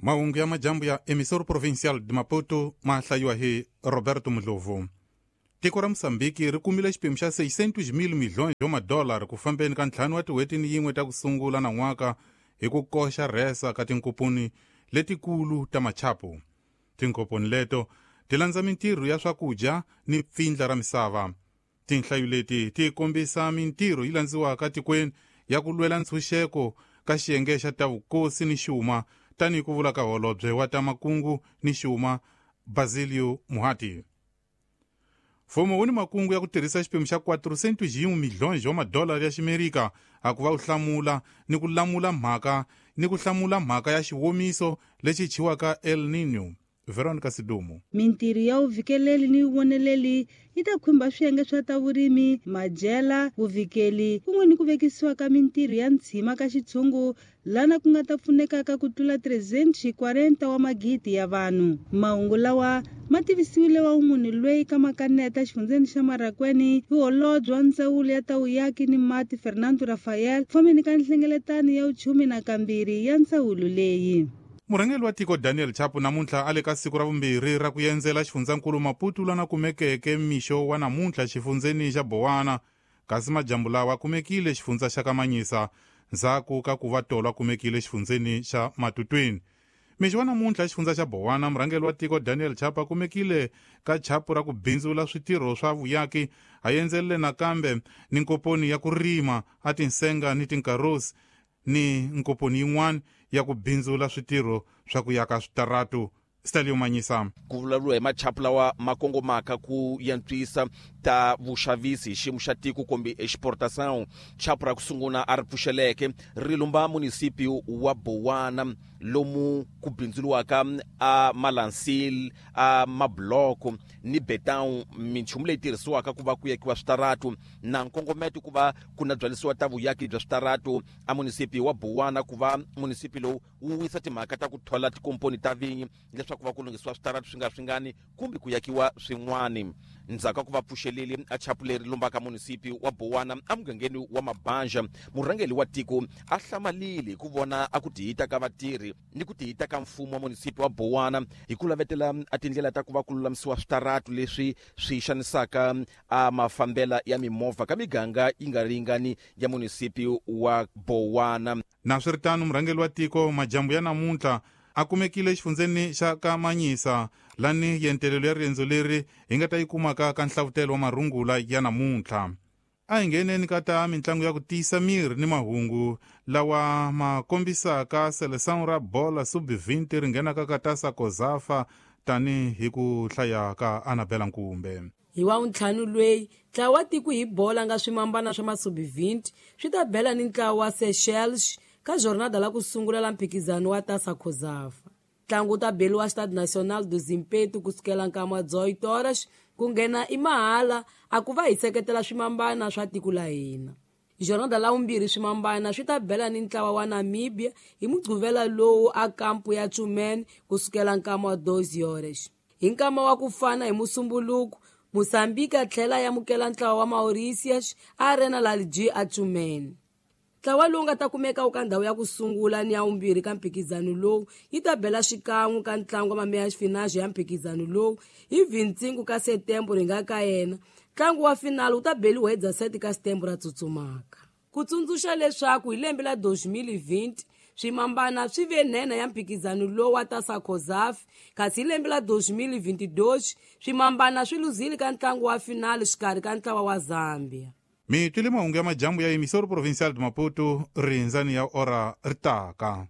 Mahungu ya majambu ya Emissor Provincial de Maputo ma hlayiwa hi Roberto Mudlovu. Tiko ra Mosambiki ri kumile xiphemu xa 600 milhões wa madollar ku fambeni ka 5 wa tin'hweti ni yin'we ta ku sungula nan'waka hi ku koxa rhesa ka tinkomponi letikulu ta machapu. Tinkomponi leto ti landza mintirho ya swakudya ni pfindla ra misava. Tinhlayo leti ti kombisa mintirho yi landziwaka tikweni ya ku lwela ntshunxeko ka xiyenge xa ta vukosi ni xuma, tanihi ku vula ka holobye wa ta makungu ni xuma Basilio Muhati. Mfumo wu ni makungu ya ku tirhisa xiphemu xa 401 milhões wa madollar ya ximerika a ku va wu hlamula ni ku lamula mhaka ni ku hlamula mhaka ya xiwomiso lexi chiwaka El Niño. Veronica Sidumo. Mintirho ya vuvikeleli ni vuvoneleli yi ta khumba swiyenge swa ta vurimi, madyela, vuvikeli kun'we ni ku vekisiwa ka mintirho ya ntshima ka xitshungu lana ku nga ta pfunekaka ku tlula 340 wa magidi ya vanhu. Mahungu lawa ma tivisiwile wa munhu loyi ka makaneta xifundzeni xa Marracuene hi holobye wa ndzawulo ya ta vuyaki ni mati Fernando Rafael fambeni ka nhlengeletano ya vuchumi nakambirhi ya ndzawulo leyi. Murhangeri wa tiko Daniel Chapo namuntlha a le ka siku ra vumbirhi ra ku endzela xifundzankulu Maputo lana kumekeke mixo wa namuntlha xifundzeni xa Bowana, kasi majambu lawa kumekile xifundza xa Kamanyisa ndzhaku ka ku va tolo a kumekile xifundzeni xa Matutwini. Mixo wa namuntlha xifundza xa Bowana, murhangeri wa tiko Daniel Chapo a kumekile ka chapu ra ku bindzula switirho swa vuyaki, a endzerile nakambe ni nkoponi ya ku rima a tinsenga ni tinkarosi ni nkoponi yin'wana ya ku bindzula switirho swa ku yaka switaratu. Stalio Manyisa. Ku vulavuriwa hi machapu lawa ma kongomaka ku yantswisa ta vuxavisi hi xiyimo xa tiko kumbe exportação. Chapu ra ku sungula a ri pfuxeleke ri lumba munisipi wa Bowana lomu ku bindzuriwaka a malansil, a mabloko ni betão, minchumu leyi tirhisiwaka ku va ku yakiwa switaratu na nkongometo ku va ku na byalisiwa ta vuyaki bya switaratu a munisipi wa Bowana, ku va munisipi lowu wu wisa timhaka ta ku thola tikomponi ta vinyi leswaku va ku lunghisiwa switaratu swi nga swingani kumbe ku yakiwa swin'wani. Ndzhaku ka ku va pfuxeleli a chapu leri lombaka munisipi wa Bowana emugangeni wa Mabanja, murhangeri wa tiko a hlamalile hi ku vona a ku tihita ka vatirhi ni ku tihita ka mfumo wa munisipi wa Bowana hi ku lavetela a tindlela ta ku va ku lulamisiwa switaratu leswi swi xanisaka a mafambela ya mimovha ka miganga yi nga ringani ya munisipi wa Bowana. Naswiritano, murhangeri wa tiko majambu ya namuntlha a kumekile xifundzeni xa Kamanyisa lani yentelelo ya riendzo leri hi nga ta yi kumaka ka nhlavutelo wa marungula ya namuntlha. A hi ngheneni ka ta mitlangu ya ku tiyisa miri ni mahungu lawa ma kombisaka seleção ra bola sub-20 ri nghenaka ka tasa Kozafa tanihi ku hlaya ka Annabella Nkumbe. Hi wa ntlhanu lweyi ntlawa wa tiko hi bola nga swimambana swa masubi-20 swi ta bela ni ntlawa wa Seychelles ka jornada la ku sungula la mphikizano wa tasa Kozafa. Ntlangu wu ta beliwa Stade National do Zimpeto kusukela nkama wa 18 horas ku nghena i mahala a ku va hi seketela swimambana swa tiko la hina. Jornada la vumbirhi swimambana swi ta bela ni ntlawa wa Namibia hi mugquvela lowu a kampu ya Tshumene kusukela nkama wa 12 horas. Hi nkama wa ku fana hi musumbuluku, Mozambique a tlhela ya amukela ntlawa wa Mauritius a Arena Lalji a Tshumene. Ntlawa lowu nga ta kumeka wu ka ndhawu ya ku sungula ni ya vumbirhi ka mphikizano lowu yi ta bela xikan'we ka ntlangu wa mameya finale ya mphikizano lowu hi 25 ka Setembro hi nga ka yena. Ntlangu wa finale wu ta beliwa hi 17 ka Setembro ra tsutsumaka. Ku tsundzuxa leswaku hi lembe la 2020 swimambana swi ve nhenha ya mphikizano lowu wa tasa Kozafi, kasi hi lembe la 2022 swimambana swi luzile ka ntlangu wa finale xikarhi ka ntlawa wa Zambia. Mi twile mahungu ya majambu ya Emissor Provincial de Maputo rindzani ya ora ri taka.